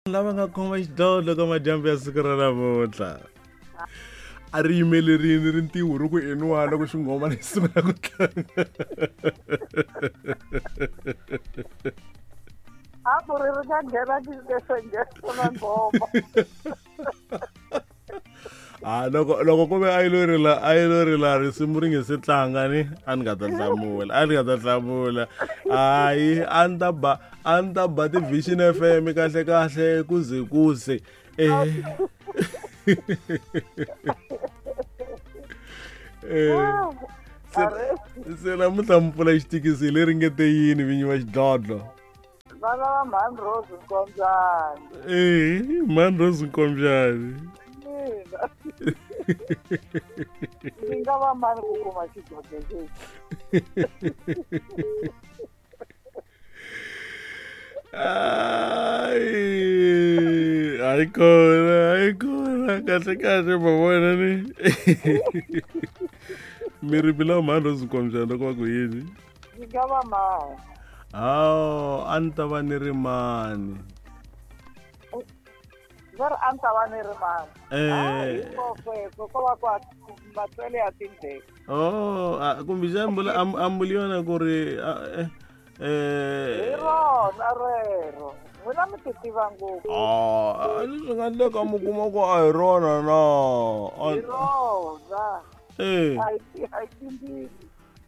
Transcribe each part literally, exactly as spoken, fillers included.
Lava nga khoma xidlodlo ka madyambu ya siku ra namuntlha a ri yimelerini rintiho ri ku eniwa loko xinghoma lexi sungula ku tlanga a ku ri ri nga nghena na nghoma a loko loko ku ve a yi lo rila a yi lo rila risimu ri nge se tlanga ni a ni nga ta hlamula a ni nga ta hlamula hayi a ni ta ba a ni ta ba ti-Vision F M kahle kahle kuze kuze eh eh se se namuntlha mi pfula xitikisi leri nge te yini vinyi va xidlodlo vana va Mhani Rose Nkombyani eh Mhani Rose Nkombyani mina ni nga va mani ku kuma xidlodlo lexi Ai, ai kona ai kona kahle kahle ma vona ni mi ri bila Mhani Rose Nkombyani loko va ku yini ni nga va mani hawu a ni ta va ni ri mani va ri a ni ta va ni ri mani eh ko ko va ku matswele ya tindleve oh kumbexani mbula ambuli yona ku ri eh hi rona rero n'wina mi ti tiva ngopfu ah swi nga endleka mi kuma ku a hi rona na hi rona eh a hi a hi timbili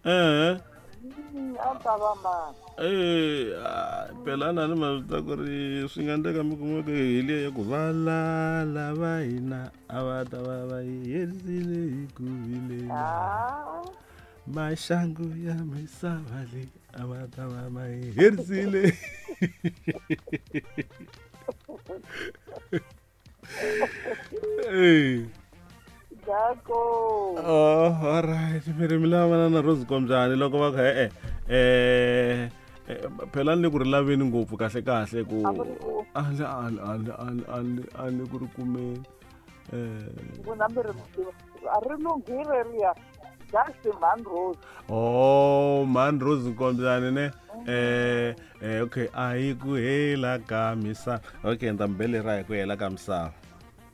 eh a ni ta va mani eh phela na ni ma swi ta ku ri swi nga endleka mi kuma ku hi liya ya ku valala va hina a va ta va va hi herisile hi ku vilela maxangu ya misava leyi a va ta va va hi herisile eh Dako. Oh, all right. Mi ri mi lava na Rose Nkombyani loko va kha eh eh phela ni ku ri laveni ngopfu kahle kahle ku a ni a ni a ni a ni a ni ku ri kumeni eh n'wina mi ri a ri lunghile riya just Mhani Rose oh Mhani Rose Nkombyani ne eh eh okay a yi ku hela ka misava okay ni ta mi belera hi ku hela ka misava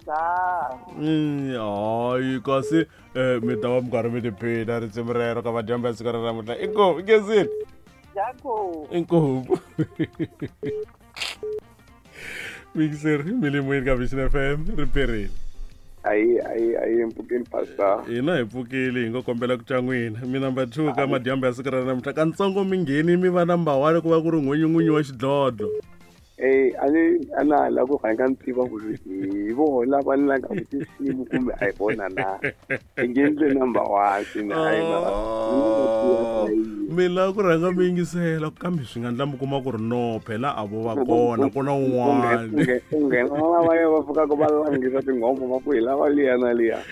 Mm, hayi kasi eh mi ta va mi karhi mi tiphina risimu rero ka madyambu ya siku ra namuntlha inkomu inkezini inkomu mixer mi le moyeni ka Vision F M ri perile ayi ayi ayi mpfukeni pastor hina hi pfukile hi ngo kombela ku twa n'wina mi number two ka madyambu ya siku ra namuntlha kantsongo mi ngheni mi va number one ku va ku ri n'winyi wa xidlodlo Eh a ni a na ha lava ku rhanga ni tiva ku ri hi vona lava ni langa ku tinsimu kumbe a hi vona na i nge ndle number one swine hayi mi lava ku rhanga mi yingisela kambe swi nga endla mi kuma ku ri no phela a vo va kona ku na un'wana u nghena lavaya va pfukaka va langisa tinghoma va ku hi lava liya na liya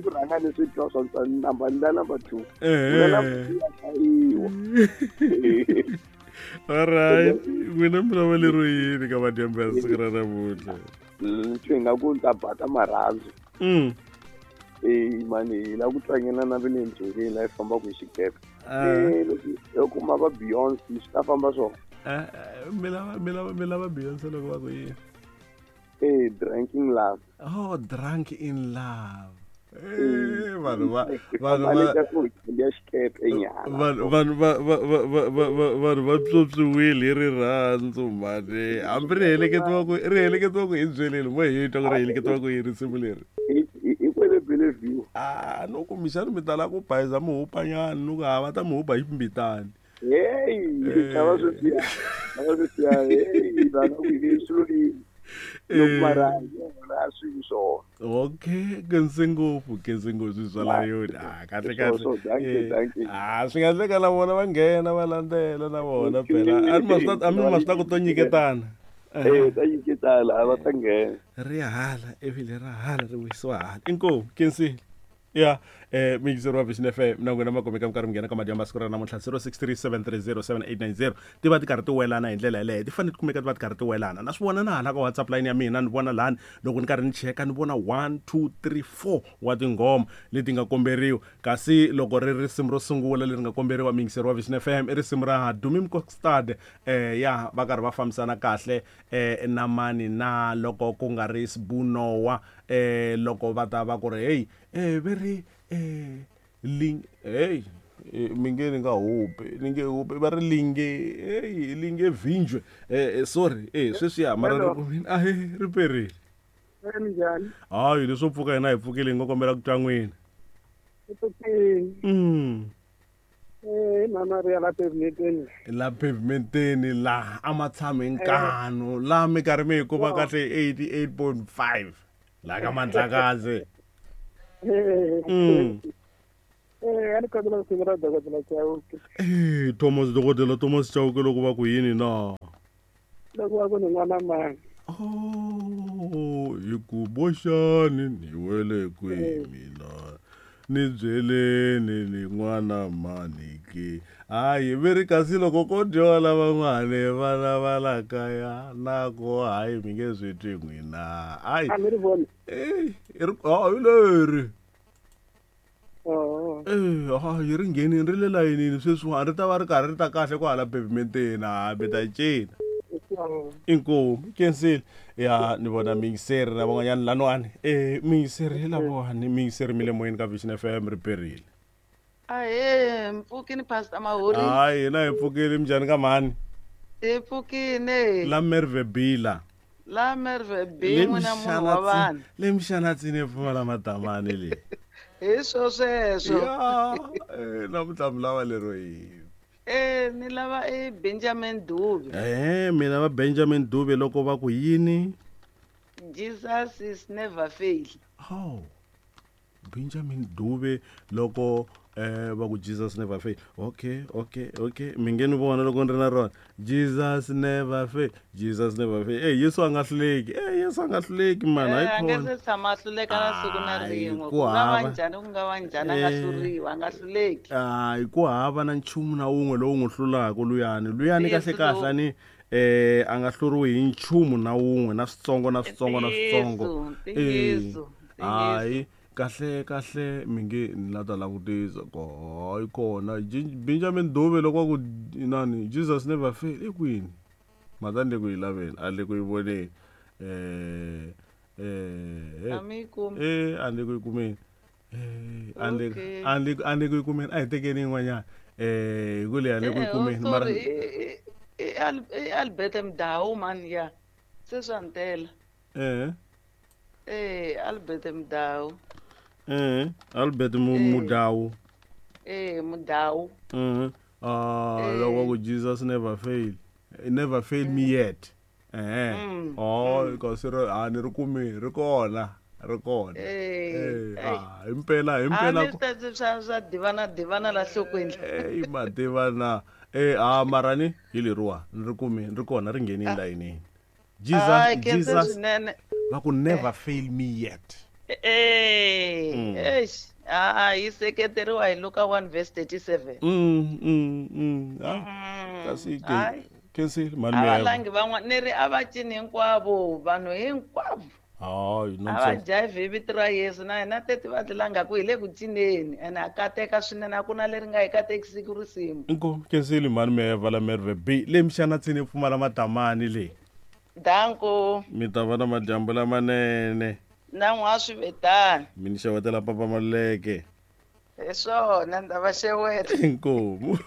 ku rhanga ni swi twa swa number ndla number two chayiwa all right n'wina mi lava lero yini ka madyambu ya siku ra namuntlha swi nga ku ta bata marhandzu mm eh mani hi lava ku tlangela na ve le ndzungeni laha hi fambaka hi xikepe eh loko kuma va Beyonce swi ta famba swona mi lava mi lava mi lava Beyonce loko va ku yini eh drunk in love oh drunk in love Eh vanhu va vanhu va vanhu vanhu va va va va va vanhu va pyopyiwile hi rirhandzu mhani hambi ri heleketiwa ku ri heleketiwa ku hi byeleni mo hi twa ku ri heleketiwa ku hi risimu leri hi kwele Bellevue ah no kumbexani mi tala ku bayiza mi hupanyana ni ku ha va ta mi hupa hi mbitani hey chava sweswiya chava sweswiya hey va nga ku hi swilo yini loko mara yona swi swona okay kense ngopfu kense ngopfu swi la yona ah kahle kahle ah swi nga endleka na vona va nghena va landzela na vona phela a ni ma swi a mi ma swi ta ku to nyiketana eh ta nyiketana a va ta nghena ri hala ivi le ra hala ri wisiwa hala inkomu kensile Ya eh mixer wa Vision F M na n'wina makomeka mi karhi mi nghena ka madyambu siku ra namuntlha zero six three seven three zero seven eight nine zero ti va ti karhi ti welana hi ndlela yeleyo ti fanele ti kumeka ti va ti karhi ti welana na swi vona na hala ka WhatsApp line ya mina ni vona lani loko ni karhi ni cheka ni vona one two three four wa tinghoma leti nga komberiwa kasi loko ri risimu ro sungula leri nga komberiwa mixer wa Vision F M i risimu ra Dumi Mkokstad eh ya va karhi va fambisana kahle eh na mani na loko ku nga ri Sbunowa eh loko va ta va ku ri hey eh veri eh ling hey mi nge ni nga hupi ni nge hupi va ri linge hey linge vinjwe eh sorry eh sweswiya mara ri a ri perile njhani hayi leswo pfuka hina hi pfukile hi ngo kombela ku twa n'wina mm eh mama ri la pavementeni la pavementeni la a ma tshami nkanu la mi karhi mi hi kuma kahle eighty-eight point five la ka Mandlakazi mm eh ani kombela ku tiva dokodela Chauke eh Thomas dokodela Thomas Chauke loko va ku yini na loko va ku ni n'wana mani oh hi ku boxani ni wele kwihi mina ni byeleni ni n'wana mani ke hayi ve ri kasi loko ko dyoha van'wana vana va la kaya na ko hayi mi nge swi twi n'wina hayi a mi ri voni eh hi leri oh eh hayi ri nghenini ri le layinini sweswiwani ri ta va ri karhi ri ta kahle kwahala pavementeni hambi ta cina inkomu kensile ya ni vona mingiseri na van'wanyana laniwani eh mingiseri hi lavawani mingiseri mi le moyeni ka Vision F M ri perile ahe mpfukini Pastor Mahuri hayi hina hi pfukile minjhani ka mhani hi pfukile la Merve Bila la Merve B n'wina munhu wa vanhu le mixanatsini yi pfumala madamani le hi swo sweswo ya eh namuntlha mi lava lero yini eh ni lava e Benjamin Dube eh mina va Benjamin Dube loko va ku yini Jesus is never fail oh Benjamin Dube loko eh va ku Jesus never fail okay okay okay mi nge ni vona loko ni ri na rona Jesus never fail Jesus never fail eh Yesu a nga hluleki eh Yesu a nga hluleki man hayi khona a nga se tshama hluleka na siku na rin'we ku nga va njhani ku nga va njhani a nga hluriwa a nga hluleki hayi ku hava na nchumu na wun'we lowu n'wi hlulaka luyani luyani kahle kahle ni eh a nga hluriwi hi nchumu na wun'we na switsongo na switsongo na switsongo eh hayi kahle kahle mi nge ni la ta langutisa ko hayi kona Benjamin Dube loko ku inani Jesus never fail i kwini mhaka ni le ku yi laveni a le ku yi voneni eh eh eh a le ku yi kumeni eh a le a le a le ku yi kumeni a hi tekeni yin'wanyana eh hi ku leyi a le ku yi kumeni mara i Albert Mdawu man ya se swa ntela eh eh Albert Mdawu eh Albert Mudau eh Mudau mhm ah loko ku Jesus never fail never fail me yet eh oh kasi ri a ni ri kumi ri kona ri kona eh ah impela impela a ni swi swa swa divana divana la hlokweni eh madivana eh ah marani hi leriwa ni ri kumi ri kona ri nghenini layinini Jesus Jesus va ku never fail me yet eh eish ah yi seketeriwa hi Luka one verse thirty-seven mm mm mm ah kasi ke kensile mani a valangi van'wana ni ri a va cini hinkwavo vanhu hinkwavo hayi a va jive hi vito ra Yesu na hina teti va tlilanga ku hi le ku cineni ene a kateka swinene a ku na leri nga hi katekisiki risimu inkomu kensile mani me vala Merve B le mixanatsini pfumala madamani le danko mi ta va na madyambu lamanene na n'wa swi vetani mi ni xewetela papa Maluleke hi swona ni ta va xeweta inkomu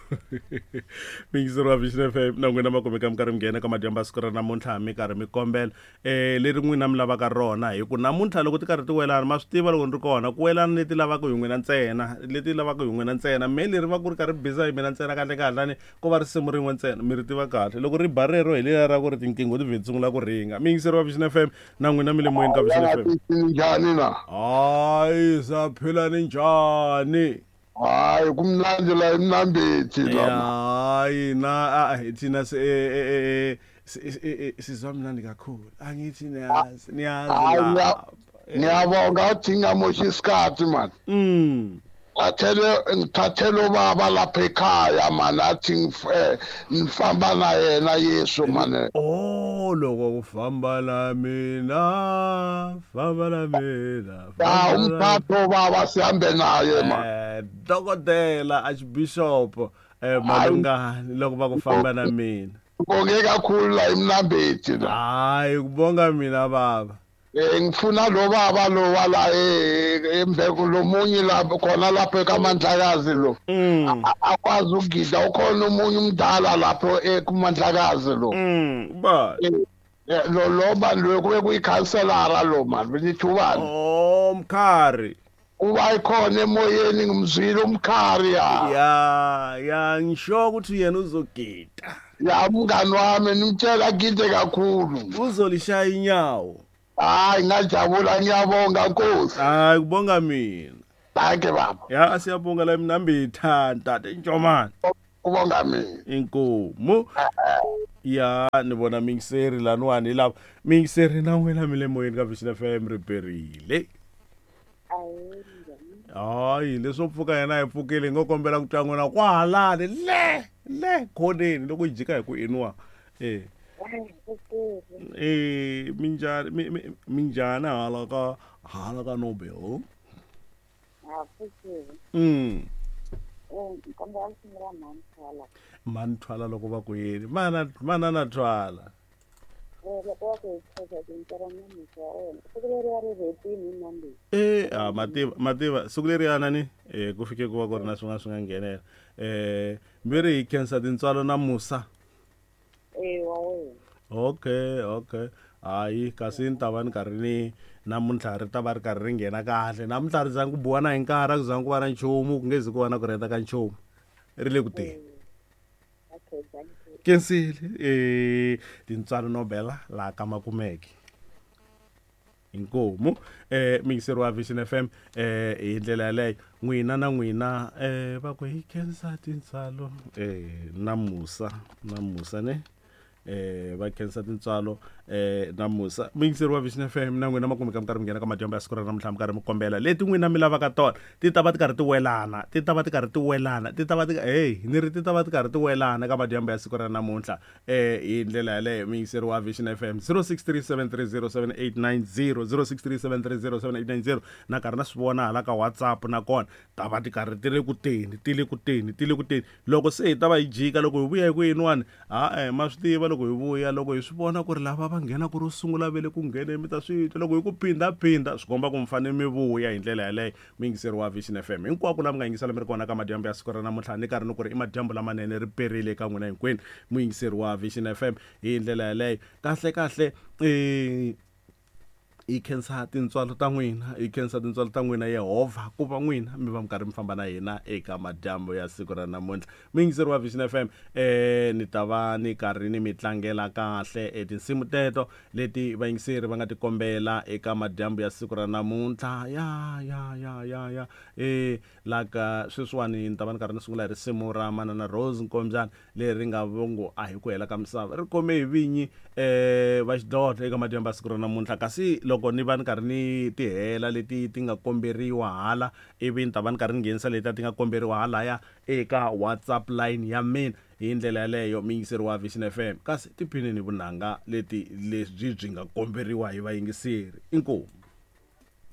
mingiseri wa Vision F M na n'wina makumeka mi karhi mi nghena ka madyambu ya siku ra namuntlha mi karhi mi kombela eh leri n'wina mi lavaka rona hi ku namuntlha loko ti karhi ti welana ma swi tiva loko ni ri kona ku welana leti lavaka hi n'wina ntsena leti lavaka hi n'wina ntsena me leri va ku ri karhi biza hi mina ntsena kahle kahle ni ko va risimu rin'we ntsena mi ri tiva kahle loko ri ba rero hi leriya ra ku ri tinqingho ti vhe ti sungula ku ringa mingiseri wa Vision F M na n'wina mi le moyeni ka Vision F M njhani na hayi sa phila ni njhani hayi kumnandzi la emnambithi la hayi na thina sizwa mnandi kakhulu angithi niyazi niyazi Ngiyabonga uthi ngingamoshi isikhathi man. Mm. Thathele ngithathele ubaba lapha ekhaya man athi ngifamba na yena Yesu man. Oh loko kufamba la mina famba la mina. Ya umphatho baba sihambe naye man. Eh dokotela Archbishop eh malungani loko va ku famba na mina. Ngibonge kakhulu la eMnambithi la. Hayi kubonga mina baba. Eh ngifuna lo baba lo wala emveko lomunye lapho khona lapho eKamandlakazi lo. Akwazi ukugida ukhona umunye umdala lapho eKamandlakazi lo. Mm ba. Lo lo man lo kube kuyikhanselara lo man nithi ubani? Oh Mkhari. Uba ikhona emoyeni ngimzwile uMkhari ya. Ya ya ngisho ukuthi yena uzogida. Ya mngani wami nimtshela gide kakhulu. Uzolishaya inyawo. Hayi ngajabula ngiyabonga Nkosi. Hayi kubonga mina. Danke baba. Ya siyabonga la eMnambithi tata Njomane. Kubonga mina. Inkomo. Ya ni vona mingiseri laniwani lapha. Mingiseri na wena mi le moyeni ka Vision F M ri perile. Hayi leswo pfuka yena hi pfukile ngo kombela ku twa n'wina kwahalani le le khoneni loko yi jika hi ku inwa. Eh. Eh minjani minjani hala ka hala ka Nobel. Ha pfukile. Mm. Eh kombela ku sungula mani thwala. Mani thwala loko va ku yini? Mana mana na thwala. Eh loko va ku khensa tintswalo na musa wa wena. Siku leriya ri hetile hi Monday. Eh a mativa mativa siku leriya nani eh ku fike ku va ku ri na swin'wana swi nga nghenela. Eh mi ri hi khensa tintswalo na musa. Eh wa wena. Okay okay. Hayi kasi ni ta va ni karhi ni namuntlha ri ta va ri karhi ri nghena kahle. Namuntlha ri zangi ku biwa na hi nkarhi a ku zangi ku va na nchumu ku nge zi ku va na ku rheta ka nchumu. Ri le ku teni. Okay thank you. Kensile eh tintswalo Nobel la ka Makumeke. Inkomu eh mingiseri wa Vision F M eh hi ndlela yaleyo n'wina na n'wina eh va ku hi khensa tintswalo eh na musa na musa ne eh va khensa tintswalo eh na musa mingiseri wa Vision F M na n'wina makumeka mi karhi mi nghena ka madyambu ya siku ra namuntlha mi karhi mi kombela leti n'wina mi lavaka tona ti ta va ti karhi ti welana ti ta va ti karhi ti welana ti ta va ti hey ni ri ti ta va ti karhi ti welana ka madyambu ya siku ra namuntlha eh hi ndlela yaleyo mingiseri wa Vision F M zero six three seven three zero seven eight nine zero zero six three seven three zero seven eight nine zero na karhi na swi vona hala ka WhatsApp na kona ta va ti karhi ti le ku teni ti le ku teni ti le ku teni loko se hi ta va hi jika loko hi vuya hi ku yin'wana ha eh ma swi tiva loko hi vuya loko hi swi vona ku ri lava va nghena ku ro sungula vele ku nghene mi ta swi twa loko hi ku phinda phinda swi komba ku mi fanele mi vuya hi ndlela yaleyo mingiseri wa Vision F M hinkwako la mi nga yingisela mi ri kona ka madyambu ya siku ra namuntlha ni karhi ni ku ri i madyambu lamanene ri perile eka n'wina hinkwenu muyingiseri wa Vision F M hi ndlela yaleyo kahle kahle eh hi khensa tintswalo ta n'wina hi khensa tintswalo ta n'wina Yehovha ku va n'wina mi va mi karhi mi famba na hina eka madyambu ya siku ra namuntlha muyingiseri wa Vision F M eh ni ta va ni karhi ni mi tlangela kahle e tinsimu teto leti vayingiseri va nga ti kombela eka madyambu ya siku ra namuntlha ya ya ya ya ya eh laka sweswiwani ni ta va ni karhi ni sungula hi risimu ra Manana Rose Nkombyana leri nga vongo a hi ku hela ka misava ri khome hi vinyi eh va xidlodlo eka madyambu ya siku ra namuntlha kasi loko ni va ni karhi ni ti hela leti ti nga komberiwa hala ivi ni ta va ni karhi ni nghenisa leti ti nga komberiwa halaya eka WhatsApp line ya mina hi ndlela yaleyo muyingiseri wa Vision F M kasi tiphinini vunanga leti leswi byi nga komberiwa hi vayingiseri inkomu.